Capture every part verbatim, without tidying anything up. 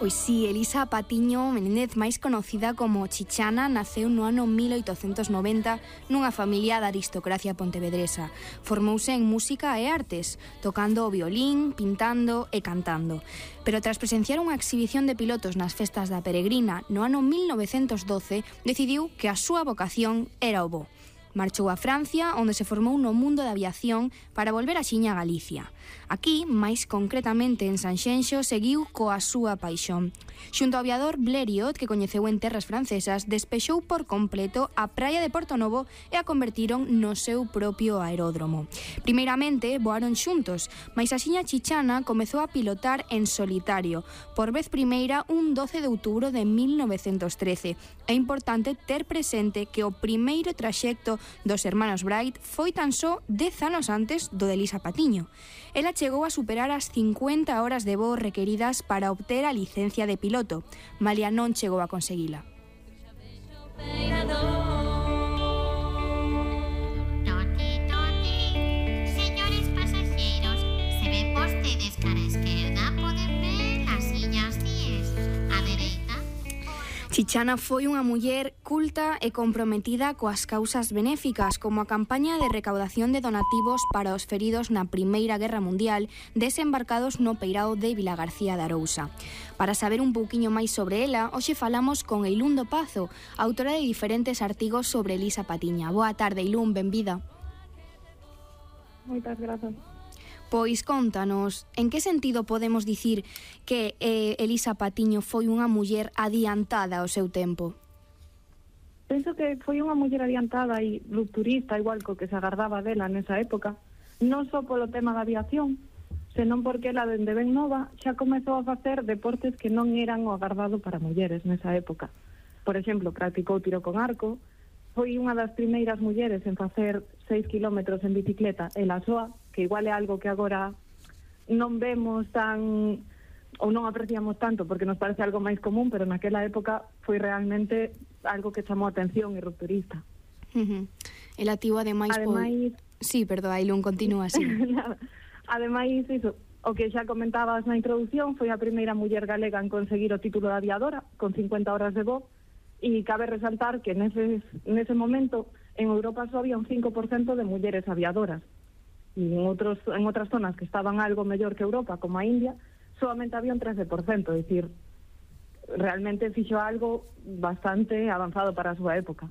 Pois si, Elisa Patiño Menéndez, máis conocida como Chichana, naceu no ano mil oitocentos noventa nunha familia da aristocracia pontevedresa. Formouse en música e artes, tocando o violín, pintando e cantando. Pero tras presenciar unha exhibición de pilotos nas festas da Peregrina no ano mil novecentos doce, decidiu que a súa vocación era o voo. Marchou a Francia, onde se formou no mundo da aviación para volver axiña a Galicia. Aquí, máis concretamente en Sanxenxo, seguiu coa súa paixón. Xunto ao aviador Blériot, que coñeceu en terras francesas, despexou por completo a praia de Porto Novo e a convertiron no seu propio aeródromo. Primeiramente, voaron xuntos, mais axiña Chichana comezou a pilotar en solitario, por vez primeira un doce de outubro de mil novecentos trece. É importante ter presente que o primeiro traxecto dos hermanos Bright foi tan só dez anos antes do de Elisa Patiño. Ela chegou a superar as cincuenta horas de voo requeridas para obter a licencia de piloto, malia non chegou a conseguila. Señores pasaxeiros, se ven vostedes cara a esquerda, poden ver as sillas diez. A dereita. Chichana foi unha muller culta e comprometida coas causas benéficas, como a campaña de recaudación de donativos para os feridos na Primeira Guerra Mundial, desembarcados no peirao de Vilagarcía de Arousa. Para saber un pouquiño máis sobre ela, hoxe falamos con Eilundo Pazo, autora de diferentes artigos sobre Elisa Patiño. Boa tarde, Eilún, benvida. Moitas grazas. Pois contanos, en que sentido podemos dicir que eh, Elisa Patiño foi unha muller adiantada ao seu tempo? Penso que foi unha muller adiantada e rupturista, igual co que se agardaba dela nesa época, non só polo tema da aviación, senón porque ela, dende ben nova, xa comezou a facer deportes que non eran o agardado para mulleres nesa época. Por exemplo, practicou tiro con arco, foi unha das primeiras mulleres en facer seis kilómetros en bicicleta, ela soa, que igual é algo que agora non vemos tan, ou non apreciamos tanto, porque nos parece algo máis común, pero naquela época foi realmente algo que chamou a atención e rupturista. Uh-huh. Ela tivo ademais... Ademais... Po... Sí, perdón, Ailún, continúa así. Ademais, iso, o que xa comentabas na introducción, foi a primeira muller galega en conseguir o título de aviadora, con cincuenta horas de voo, e cabe resaltar que nese, nese momento en Europa só había un cinco por cento de mulleres aviadoras. E en, outros, en outras zonas que estaban algo mellor que Europa, como a India, solamente había un trece por cento, é dicir, realmente fixo algo bastante avanzado para a súa época.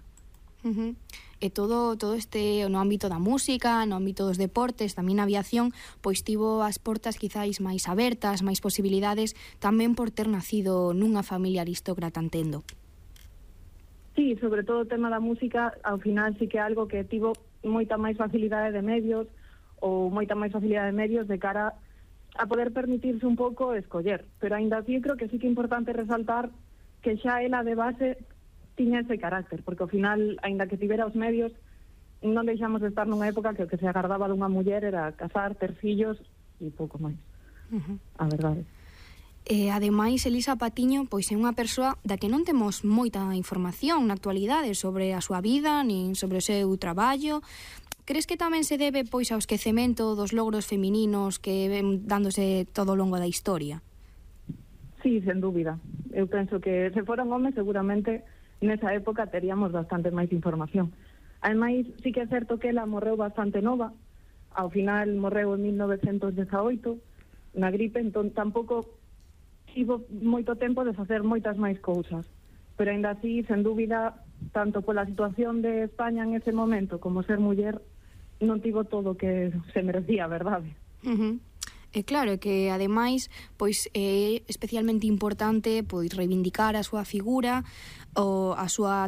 Uh-huh. E todo todo este no ámbito da música, no ámbito dos deportes, tamén a aviación, pois tivo as portas quizáis máis abertas, máis posibilidades, tamén por ter nacido nunha familia aristócrata, entendo. Sí, sobre todo o tema da música, ao final sí que é algo que tivo moita máis facilidade de medios, ou moita máis facilidade de medios de cara a poder permitirse un pouco escoller. Pero aínda así creo que sí que é importante resaltar que xa ela de base tiña ese carácter, porque ao final, aínda que tivera os medios, non deixamos de estar nunha época que o que se agardaba dunha muller era casar, ter fillos e pouco máis. Uh-huh. A verdade. E, ademais, Elisa Patiño pois é unha persoa da que non temos moita información na actualidade sobre a súa vida, nin sobre o seu traballo. Crees que tamén se debe pois ao esquecemento dos logros femininos que ven dándose todo o longo da historia? Sí, sen dúbida. Eu penso que se foran homes seguramente nesa época teríamos bastante máis información. Ademais, sí que é certo que ela morreu bastante nova, ao final morreu en mil novecentos dezaoito na gripe, entón tampouco tivo moito tempo de facer moitas máis cousas, pero aínda así, sen dúbida, tanto pola situación de España en ese momento como ser muller, non tivo todo o que se merecía, verdade? Uh-huh. E claro que, ademais, pois é especialmente importante pois reivindicar a súa figura, ou a súa